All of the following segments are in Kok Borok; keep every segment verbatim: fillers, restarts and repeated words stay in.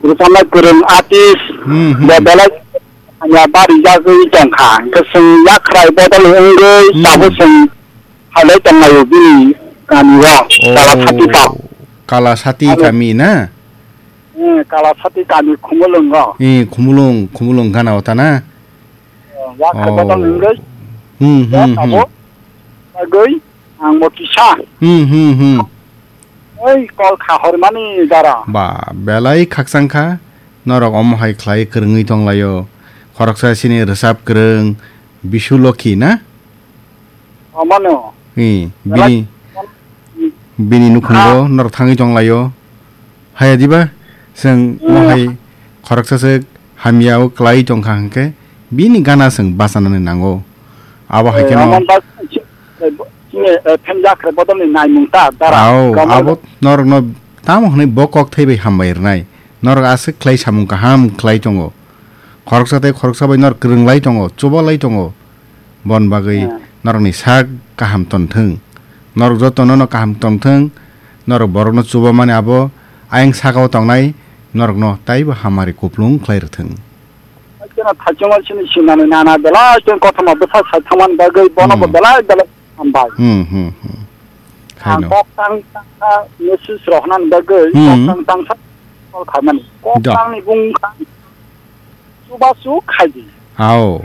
Rwchapnai kwrwng artist Hmm, hmm. bo belai hamya barijagwi tongkha. Hwnkhe chwng yakhrai bodol wngwi Hmm. tabuk chwng phailai tonglaio bini kamio. Oh, Kalasati kami. Kalasati Abo kami na? Eh, Kalasati kami Khumulwngo. Eh, Khumulwng, Khumulwng gana o ta na? Eh, yakhrai Oh. bodol wngwi Hmm, hmm, hmm. tabuk bagwi ang bo kisa. Hmm, hmm, hmm. Oi, kol kha hormani dara. Ba, belai khakchang kha. Norok omo hai khlai kwrwngwi tonglaio. Khoroksa sini rwchap kwrwng Bisu Lokhi na? Omano. Hi, Belai bini, bini nukhungo Ha. norok thangwi tonglaio. Haya diba? Chwng Hmm. omo hai khoroksa se hamya o kwlai tongkha hwnkhe bini gana chwng bachanani nango. Abo hai Eh, kheno Roman bas-, chini, eh, phenjak khe bodolni naimung ta, dara. Ao, Roman abo bas- norokno tamo hwnwi bo kok thai bai hambai rwnai. Norok aswk khlai samung kaham khlai tongo. Khoroksa tei khoroksa bai norok kwrwng lai tongo, chuba lai tongo. Bon bagwi Hmm. norokni sak kaham ton thung. Norok jotono no kaham ton thung. Norok borokno chuba mani abo ayang sakao tongnai norokno taibo hamari kuplung khlai rwthung. Kena thachuma chini sinani nana belai chini kothoma bwsa sai thangmani bagwi bono bo Hmm. belai belai hambai. Hmm, hmm, hmm. Ang Khaino. kok tang tangsa message rohnan bagwi Hmm. kok tang tangsa call khaimani. Kok Da. tangni bung kha chubachu khaidi. Ao.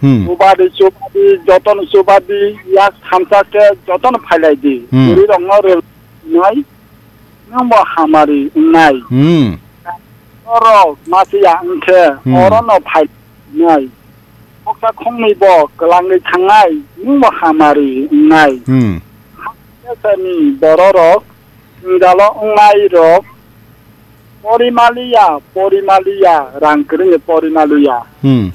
Hmm. Chubadi, chubadi, jotono chubadi, yak thamsa khe jotono phailaidi. Hmm. Bwrwi rokno rel nai, nwng bo hamari wngnai. Hmm. Norok masiya wngkhe Hmm. orono phai nai. Khoksa khongni bo kwlangwi thangnai, nwng bo hamari wngnai. Hmm. Hakhe sani bororok jwngjalo wngnai rok porimaliya, porimaliya, rang kwrwngni porimaliya. Hmm.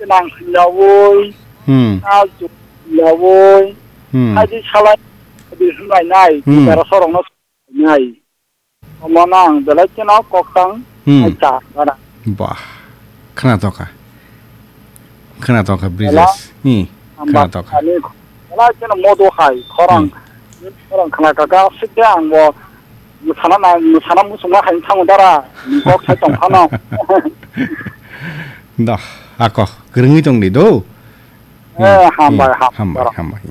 Nang yawi, Hmm. ta yawi, Hmm. haji salai, haji hwnai nai, Hmm. dara sorokno nai. Omo nang belai kheno koktang Hmm. ai ta, bara. Bah. Khwnatokha. Khwnatokha, Bela, Brijesh. Ni, amba khwnatokha. Ani, belai kheno modo hai, khorang. Hmm. Khorang khna kaka, sikhe ang bo, mwsana na, mwsana musungma hai thango dara, kok sai tong phano. Doh, ako, kwrwngwi tong di do. Eh, Hmm, hambai, hmm, ham, hambai, bara. Hambai.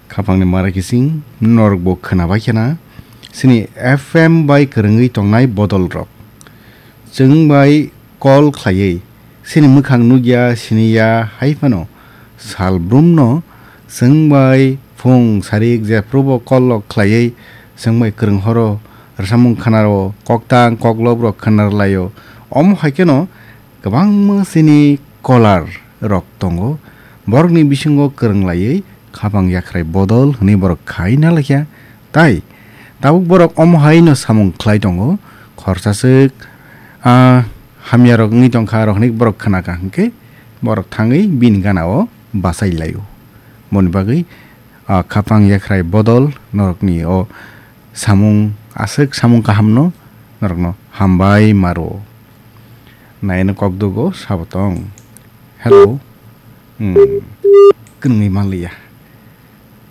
Khapangni mara kising norokbo khwnabai khena, chini F M bai kwrwngwi tongnai bodolrok. Chwng bai call khlaiwi, chini mwkhang nukya, siniya, hai phano sal brumno chwng bai phung sarik jephrubo call rok khlaiwi, chwng bai kwrwng horo rwchapmung khwnaro, koktang koklop rok khwnarlaio. Omo hai kheno kwbangma chini caller rok tongo, borokni bisingo kwrwng laiwi khapang yakhrai bodol hwnwi borok khai na laikha. Tai tabuk borok omo hai no samung khlai tongo, khorsa swk, ah, hamya rok wngwi tongkha, rok hwnwi borok khna kha hwnkhe borok thangwi bini gana o bachai laio. Boni bagwi, ah, khapang yakhrai bodol norokni o samung, aswk samung kaham no norokno hambai maro. Naino kok dugo sabo tong. Hello. Hmm. Kwrwngwi manliya.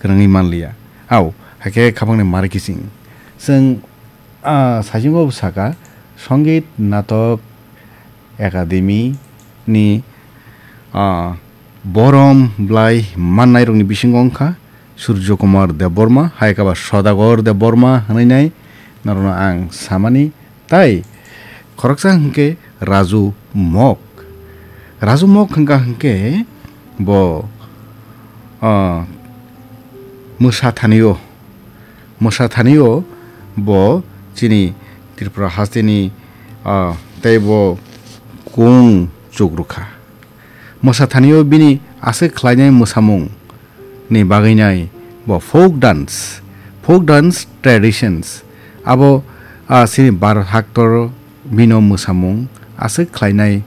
Kwrwngwi manliya. Au, hakhe khapangni mari kising. Chwng, ah, saichungo saka, Songit Natok Academy ni, ah, borom blai mannairokni bisingo wngkha Surjo Kumar Debbarma, hai khe ba Sodagar Debbarma hwnwi nai norokno ang samani. Tai khoroksa hwnkhe Raju Mok. Raju Mok hwnkha hwnkhe bo, ah, mwsa thanio, mwsa thanio bo chini Tripura hasteni, ah, tei bo kung chukrukha. Mwsa thanio bini aswk khlainai mwsamung ni bagwi nai bo folk dance, folk dance traditions. Abo, ah, chini Bharat haktor bino mwsamung aswk khlainai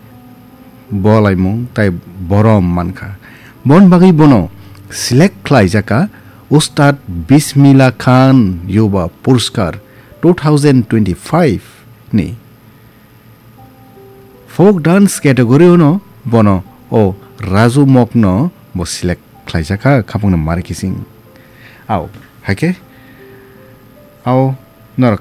bolaimung tai borom mankha. Bon bagwi bono select khlaijakha Ustad Bismillah Khan Yuba Puraskar two thousand twenty-five ni. Folk dance category-o no bono o Raju Mokno bo select khlaijakha khapangni mari kising. Au, haikhe, au, norok